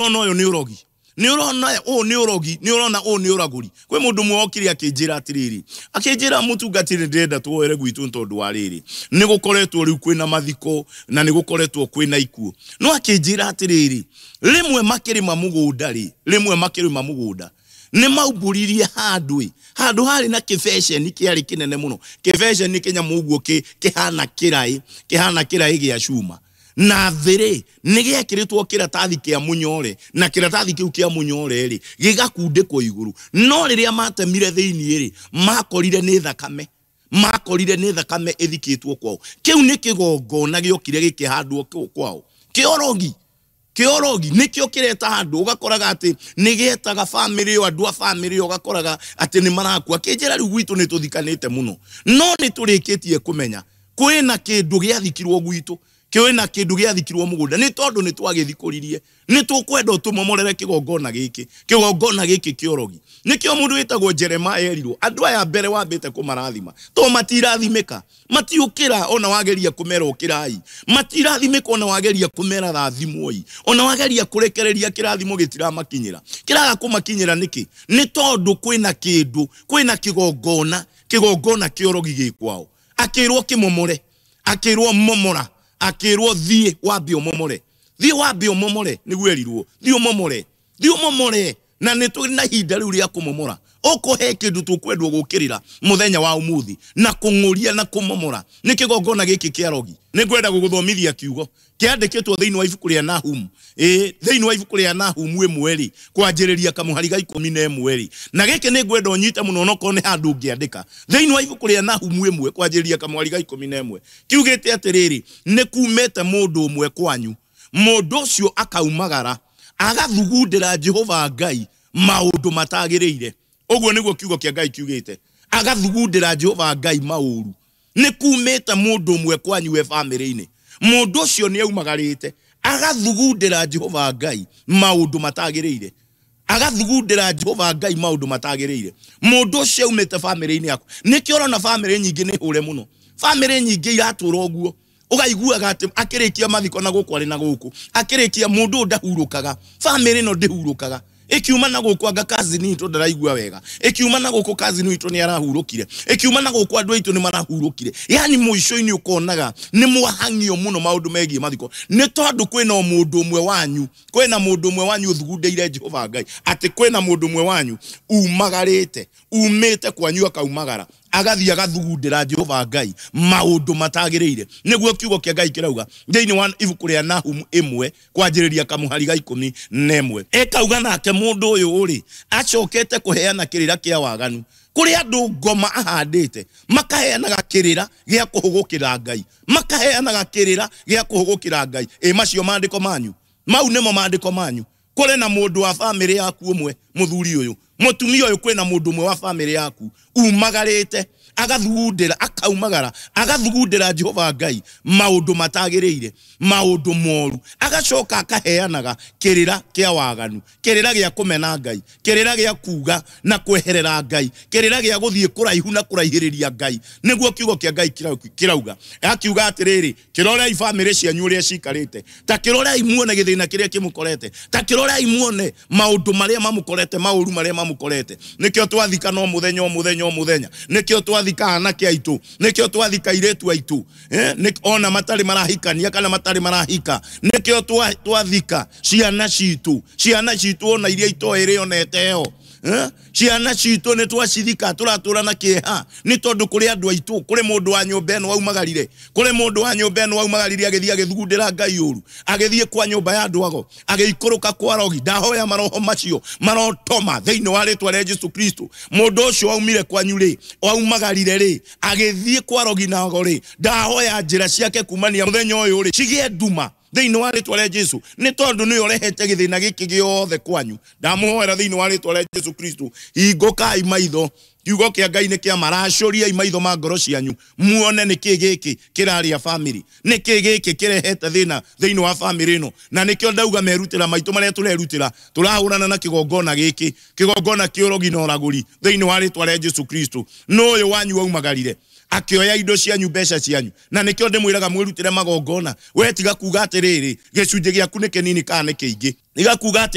Ũrona ũyũ nĩ ũrogi, nĩ ũrona ũũ nĩ ũrogi, nĩ ũrona ũũ nĩ ũragũri. Kwĩ mũndũ ũmwe okire akĩnjĩra atĩrĩrĩ, akĩnjĩra mũtungatĩri ndĩrenda tuoere gwitũ nĩ tondũ wa rĩrĩ, nĩ gũkoretwo rĩu kwĩna mathiko na nĩ gũkoretwo kwĩna ikuũ. No akĩnjĩra atĩrĩrĩ, rĩmwe makĩrĩma mũgũnda rĩ, rĩmwe makĩrĩma mũgũnda nĩ maumbũririe handũ ĩ, handũ harĩ na kĩbeceni kĩarĩ kĩnene mũno. Kĩbeceni kĩnyamũ ũguo kĩhana kĩraĩ, kĩhana kĩraĩ gĩa cuma. Na thĩ rĩ, nĩ gĩekĩrĩtwo kĩratathi kĩa mũnyore, na kĩratathi kĩu kĩa mũnyore rĩ, gĩgakundĩkwo igũrũ. No rĩrĩa matemire thĩinĩ rĩ, makorire nĩ thakame. Makorire nĩ thakame ĩthikĩtwo kwao. Kĩu nĩ kĩgongona gĩokire gĩkĩhandwo kwao. Kĩorogi. Kĩorogi nĩkĩo kĩreta andũ, ũgakoraga atĩ nĩ gĩetaga bamĩrĩ ĩyo, andũ a bamĩrĩ ĩyo ũgakoraga atĩ nĩ marakua. Kĩnjĩra rĩu gwitũ nĩ tũthikanĩte mũno, no nĩ tũrĩkĩtie kũmenya kwĩna kĩndũ gĩathikirwo gwitũ, kwĩna kĩndũ gĩathikirwo mũgũnda, nĩ tondũ nĩ twagĩthikũririe. Nĩ tũkwenda ũtũmomorere kĩgongona gĩkĩ, kĩgongona gĩkĩ kĩorogi. Nĩkĩo mũndũ wĩtagwo Jeremiah erirwo, andũ aya mbere wambĩte kũmarathima, to matirathimĩka, matiũkĩra ona wageria kũmera ũkĩrai, matirathimĩka ona wageria kũmera rathimwoi, ona wageria kũrekereria kĩrathimo gĩtiramakinyĩra. Kĩraga kũmakinyĩra nĩkĩ? Nĩ tondũ kwĩna kĩndũ, kwĩna kĩgongona, kĩgongona kĩorogi gĩ kwao. Akĩrwo kĩmomore, akĩrwo momora, akĩrwo thiĩ wambe ũmomore, thiĩ wambe ũmomore, nĩguo erirwo, thiĩ ũmomore, thiĩ ũmomore. Na nĩ tũrĩ na ihinda rĩu rĩa kũmomora. Ũkũhe kĩndũ tũkwendwo gũkĩrĩra mũthenya wa ũmũthĩ na kũng'ũria na kũmomora nĩ kĩgongona gĩkĩ kĩa rogi. Nĩ ngwenda gũgũthomithia kiugo kĩandĩkĩtwo thĩinĩ wa ibuku rĩa Nahumu. Ĩĩ, thĩinĩ wa ibuku rĩa Nahumu ĩmwe rĩ, kwanjĩrĩria kamũhari ga ikũmi na ĩmwe rĩ. Na gĩkĩ nĩ ngwenda ũnyite mũno onokorwo nĩ handũ ũngĩandĩka. Thĩinĩ wa ibuku rĩa Nahumu ĩmwe kwanjĩrĩria kamũhari ga ikũmi na ĩmwe kiugĩte atĩrĩrĩ, nĩ kumĩte mũndũ ũmwe kwanyu, mũndũ ũcio akaumagara agathugundĩra Jehova Ngai maũndũ matagĩrĩire. Ũguo nĩguo kiugo kĩa Ngai kiugĩte, agathugundĩra Jehova Ngai maũru. Nĩ kumĩte mũndũ ũmwe kwanyu we bamĩrĩ-inĩ, mũndũ ũcio nĩ aumagarĩte agathugundĩra Jehova Ngai maũndũ matagĩrĩire, agathugundĩra Jehova Ngai maũndũ matagĩrĩire. Mũndũ ũcio aumĩte bamĩrĩ-inĩ yaku. Nĩkĩo ũrona bamĩrĩ nyingĩ nĩ hũre mũno, bamĩrĩ nyingĩ iratũra ũguo, ũgaiguaga atĩ akĩrĩkia mathiko na gũkũ arĩ na gũkũ, akĩrĩkia mũndũ ũyũ ndahurũkaga, bamĩrĩ ĩno ndĩhurũkaga. Ĩkiuma na gũkũ anga cousin witũ ndaraigua wega, ĩkiuma na gũkũ cousin witũ nĩ arahurũkire, ĩkiuma na gũkũ andũ aitũ nĩ marahurũkire. Yani mũico-inĩ ũkonaga nĩ mwahang'io mũno maũndũ megiĩ mathiko, nĩ tondũ kwĩna o mũndũ ũmwe wanyu, kwĩna mũndũ ũmwe wanyu ũthugundĩire Jehova Ngai, atĩ kwĩna mũndũ ũmwe wanyu umagarĩte, umĩte kwanyu akaumagara, agathiĩ agathugundĩra Jehova Ngai maũndũ matagĩrĩire. Nĩguo kiugo kĩa Ngai kĩrauga thĩinĩ wa ibuku rĩa Nahumu ĩmwe kwanjĩrĩria kamũhari ga ikũmi na ĩmwe. Ĩkauga nake mũndũ ũyũ rĩ, acokete kũheana kĩrĩra kĩa waganu kũrĩ andũ ngoma ahandĩte, makaheanaga kĩrĩra gĩa kũhũgũkĩra Ngai, makaheanaga kĩrĩra gĩa kũhũgũkĩra Ngai. Ĩ macio maandĩko manyu, mau nĩmo maandĩko manyu. Kũrĩ na mũndũ wa bamĩrĩ yaku ũmwe, mũthuri ũyũ, mũtumia ũyũ, kwĩna mũndũ ũmwe wa bamĩrĩ yaku umagarĩte, agathugundĩra, akaumagara, agathugundĩra Jehova Ngai maũndũ matagĩrĩire, maũndũ moru, agacoka akaheanaga kĩrĩra kĩa waganu, kĩrĩra gĩa kũmena Ngai, kĩrĩra gĩa kuga na kweherera Ngai, kĩrĩra gĩa gũthiĩ kũraihu na kũraihĩrĩria Ngai. Nĩguo kiugo kĩa Ngai kĩrauga. Akiuga atĩrĩrĩ, kĩrorei bamĩrĩ cianyu ũrĩa cikarĩte, ta kĩrorei muone gĩthĩna kĩrĩa kĩmũkorete, ta kĩrorei muone maũndũ marĩa mamũkorete, maũru marĩa mamũkorete. Nĩkĩo twathika no mũthenya, o mũthenya, o mũthenya. Nĩkĩo twathika anake aitũ, nĩkĩo twathika airĩtu aitũ, ona matarĩ marahikania kana matarĩ marahika. Nĩkĩo twathika ciana citũ, ciana citũ ona iria itoĩ rĩ ona ĩteo. Ciana citũ nĩ twacithika, tũratũra na kĩeha nĩ tondũ kũrĩ andũ aitũ, kũrĩ mũndũ wa nyũmba ĩno waumagarire, kũrĩ mũndũ wa nyũmba ĩno waumagarire agĩthiĩ agĩthugundĩra Ngai ũru, agĩthiĩ kwa nyũmba ya andũ ago, agĩikũrũka kwa rogi. Ndahoya maroho macio marotoma thĩinĩ wa rĩtwa rĩa Jesu Kristo. Mũndũ ũcio waumire kwanyu rĩ, waumagarire rĩ, agĩthiĩ kwa rogi na ago rĩ, ndahoya njĩra ciake kumania mũthenya ũyũ rĩ cigĩe nduma thĩinĩ wa rĩtwa rĩa Jesu, nĩ tondũ nĩwe ũrehete gĩthĩna gĩkĩ gĩothe kwanyu. Ndamũhoera thĩinĩ wa rĩtwa rĩa Jesu Kristo, hingũkai maitho. Kiugo kĩa Ngai nĩ kĩa maracũriai maitho ma ngoro cianyu, muone nĩ kĩ gĩkĩ kĩrarĩa family, nĩ kĩ gĩkĩ kĩrehete thĩna thĩinĩ wa family ĩno. Na nĩkĩo ndauga merutĩra maitũ marĩa tũrerutĩra, tũrahũrana na kĩgongona gĩkĩ, kĩgongona kĩa ũrogi na ũragũri thĩinĩ wa rĩtwa rĩa Jesu Kristo. Nũ ũyũ wanyu waumagarire Akĩoya indo cianyu, mbeca cianyu. Na nĩkĩo ndĩmwĩraga mwĩrutĩre magongona. We tiga kuga atĩrĩrĩ, gĩcunjĩ gĩaku nĩ kĩnini kana nĩ kĩingĩ. Tiga kuga atĩ